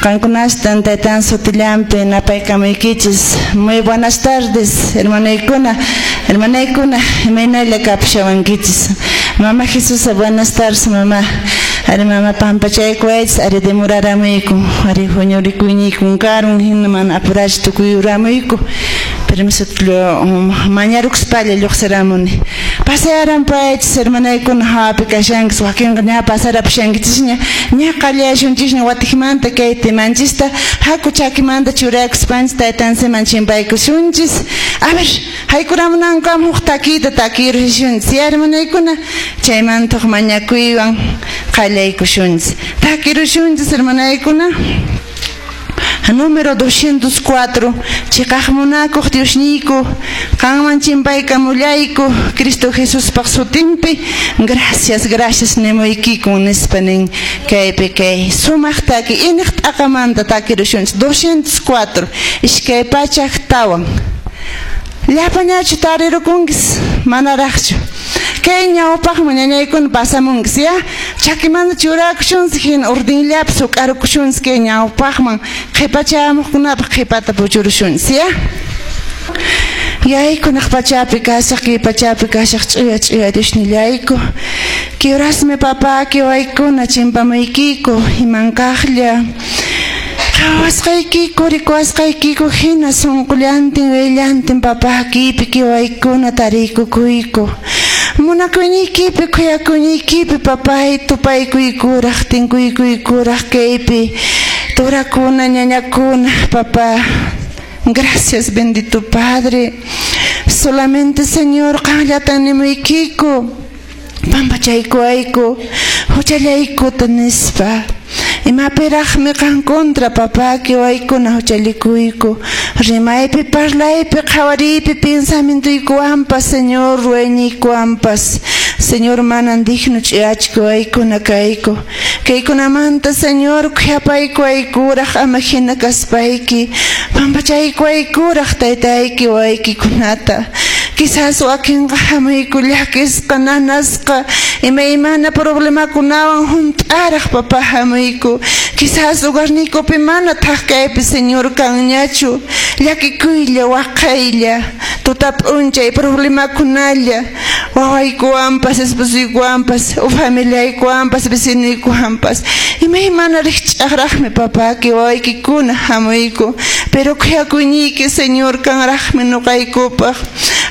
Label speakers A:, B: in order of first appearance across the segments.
A: Qankunastan taytan sutillanpi napaykamuykichis. Muy buenas tardes, hermanaykuna, hermanaykuna, imaynalla kapushawankichis. Mama Jesusa, buenas tardes, mamá. Ari mama pampachaykuwaychis, ari demoraramuyku, ari huñurikuyniykun karun, hina mana apurash tukuyuramuyku. Permiso mañarukuspalla lluqsiramuni. Pasayaranpaychis, hermanaykuna, hawapi kashankis, wakinqa ña pasarapushankichisña, ña qallayashunchisña watikmanta kay temanchista, haku chakimanta churakuspanchis taytansiman chimpaykusunchis. A ver, haykuramunankama huk takiyta takirushunchis, ya hermanaykuna, chaymanta huk mañakuywan qallaykushunchis. Takirushunchis, hermanaykuna. Número 204, chiqaq munakuq Diosniyku, qanman chimpaykamullayku, Cristo Jesuspaq sutinpi, gracias, gracias nimuykikun nispa nin kaypi kay sumaq taki iniq t'aqamanta takirushunchis 204, 204. Llapañachu tarirukunkis, manaraqchu. Kay ñawpaqman ñañaykuna pasamunkis, ya? Chakimanta churakushunchis hina ordinllapi suk'arukushunchis kay ñawpaqman qhipachamuqkunapaq qhipata puchurushunchis, ya? Yayku naq pachapi kashaq, kay pachapi kashaq ch'uya ch'uya Diosnillayku. Kiurasmi papá kiwaykuna chimpamuykiku imankaqlla. Qhawasqaykiku rikuwasqaykiku hina sunqullantin willantin papá kipi kiwaykuna tariykukuyku. Munakuyniykipi khuyakuyniykipi papay tupaykuykuraq tinkuykuykuraq kaypi turakuna ñañakuna papá. Gracias, bendito Padre. Solamente, Señor, qanllatan nimuykiku. Pampachaykuwayku, huchallaykuta nispa. Imapiraqmi qan contra, papá, kiwaykuna huchallikuyku. Rimaypi, parlaypi, qhawariypi, pensamientuykuwanpas, Señor, ruwayniykuwanpas. Señor, manan digno ch'uyachkuwaykuna kayku. Kaykunamanta, Señor, khuyapaykuwaykuraq ama hina kaspayki. Pampachaykuwaykuraq taytayki waykikunata. Quizás wakinqa hamuyku llakisqa, nanasqa, imaymana problemakunawan hunt'araq papá hamuyku. Quizás hogarniykupi mana thak kaypi, Señor, kanñachu. Llakikuylla, waqaylla, tuta p'unchay problemakunalla, wawaykuwanpas, esposuykuwanpas, familiaykuwanpas, vecinuykuwanpas. Imaymana rikch'aqraqmi papá kiwaykikuna hamuyku. Pero khuyakuyniyki, Señor, kanraqmi nuqaykupaq.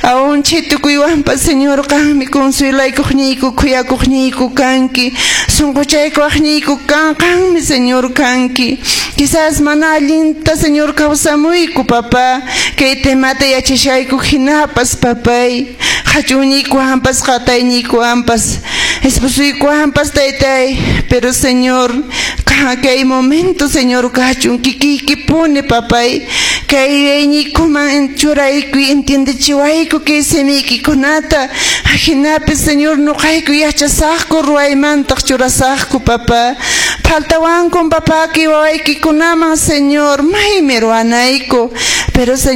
A: Aún chay tukuywanpas, Señor, qanmi consuelaykuqniyku, khuyakuqniyku kanki, sunquchaykuwaqniyku kan, qanmi, Señor, kanki. Quizás mana allinta, Señor, kawsamuyku, papá, kay temata yachashayku hinapas, papay, qhachuñiykuwanpas, qatayniykuwanpas, esposuykuwanpas, taytay, pero, Señor, kay momento, Señor, kachun kikiykipuni, papay, kay yuyayniykuman churaykuy, entiendechiwayku kay simiykikunata, ajinapi, Señor, nuqayku yachasaqku ruwaymantaq churasaqku, papá. Faltawankun, papá, kiwawaykikunaman, Señor, maymi ruwanayku, pero, Señor,